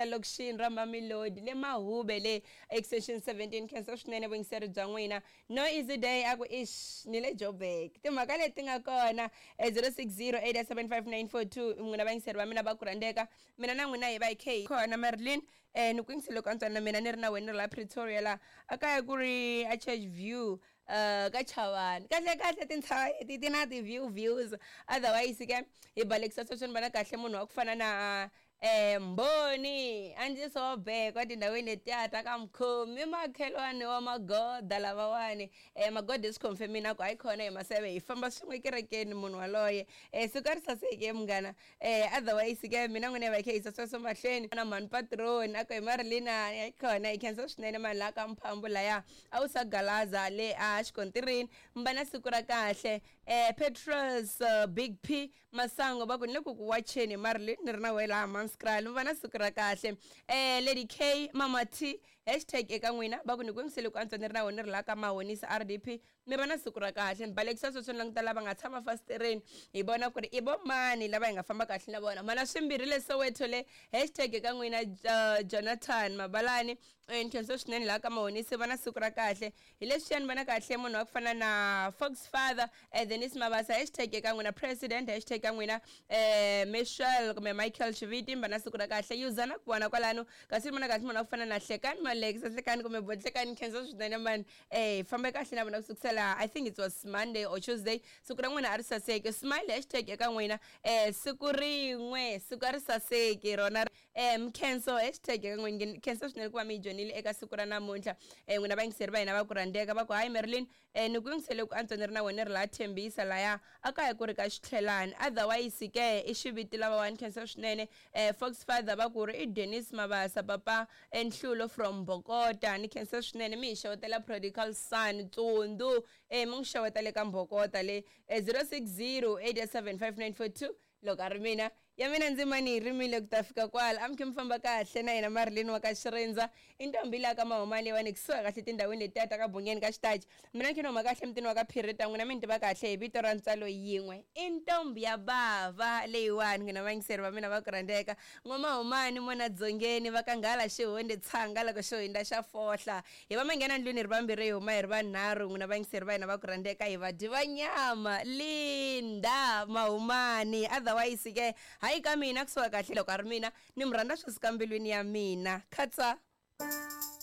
lokixini ra Mamelodi le Mahube le extension 17. Khensa swinene vuyingiseri bya n'wina. No easy day a ku ish ni le Joburg. Timhaka leti nga kona 0608755942 n'wina vayingiseri va mina va ku rhandzeka. Mina na n'wina hi va hi khe hi kona Marilyn ni ku yingisele ku antswa na mina ni ri na wena ni ri la Pretoria la a kaya ku ri a Church View ka Chavani. Kahle kahle tintshava leti ti na ti-view views otherwise ke hi balekisa sweswo ni vona kahle munhu wa ku fana na Mbhoni a ndzi sobekwa tindhawini letiya ta ka Mkhomi makhelwani wa Magoda lavawani Magoda i swi confirm-ini a ku hayi khona hi Maseve hi famba swin'we ekerekeni munhu waloye siku a ri saseke munghana otherwise ke mina n'wina hi va hi kha hi yisa sweswo mahlweni na mhani patroni a ku hi Marilina hayi khona hi khensa swinene mani laha ka Mphambu laya a wu sa galaza le a xikontirini mi va na siku ra kahle Petrus Big P Masango va ku ni le ku ku wacheni Marilyn ni ri na wehe laha Hammanskraal mi va na siku ra kahle Lady K Mama T hashtag eka n'wina va ku ni ku yingisele ku antswa ni ri na wena ni ri laha ka Mahonisa RDP mi va na siku ra kahle ni balekisa sweswo ni languta lava nga tshama fasitereni hi vona ku ri i vo mani lava hi nga famba kahle na vona mana swimbirhi le Soweto le hashtag eka n'wina Jonathan Mabalani ni khensa swinene laha ka Mahonisi va na siku ra kahle hi leswiya ni vona kahle munhu wa ku fana na Fox Father Denis Mabasa hashtag eka n'wina president hashtag ka n'wina Michelle kumbe Michael Xiviti mi va na siku ra kahle yuzana ku vona kwalano kasi ni vona kahle munhu wa ku fana na Hlekani Malex Hlekani kumbe Botlekani khensa swinene mani fambe kahle na vona ku sukusela I think it was Monday or Tuesday siku ra n'wina a ri saseki smile hashtag eka n'wina siku rin'we siku a ri saseki rona Mkhenso hashtag eka n'wina khensa swinene ku va mi yi joyinile eka siku ra namuntlha n'wina vayingiseri va hina va ku rhandzeka va ku hayi Marilyn ni ku yingisele ku antswa ni ri na wena ni ri laha Thembisa laya a kaya ku ri ka xitlhelani otherwise ke i xiviti lavawani khensa swinene Fox Father va ku ri i Dennis Mabasa papa Nhlulo from Mbokota ni khensa swinene mi hi xewetela Prodigal Son Tsundu mi n'wi xeweta le ka Mbokota le 060 875 5942 Loko a ri mina, ya mina ndzima ni yi rimile ku ta fika kwala. A mi khe mi famba kahle na yena Marilyn wa ka Xirindza. I ntombi leya ka Mahumani leyiwani kusuhi kahle tindhawini letiya ta ka Bungeni ka Xitachi. Mina ni khe ni huma kahle emutini wa ka Phirita, n'wina mi ni tiva kahle hi vito ra ntswalo yin'we. I ntombi ya bava leyiwani, n'wina vayingiseri va mina va ku rhandzeka. N'wa-Mahumani, Mona Dzongeni, va ka Nghala Xihundhi, Tshanga loko xo hundza xa fohla. Hi va manghena ndlwini hi ri vambirhi hi huma hi ri vanharhu n'wina vayingiseri va hina va ku rhandzeka hi vadyi va nyama Linda Mahumani otherwise ke hayi ka mina kusuka kahle loko a ri mina ni mi rhandza swi suka mbilwini ya mina khatsa.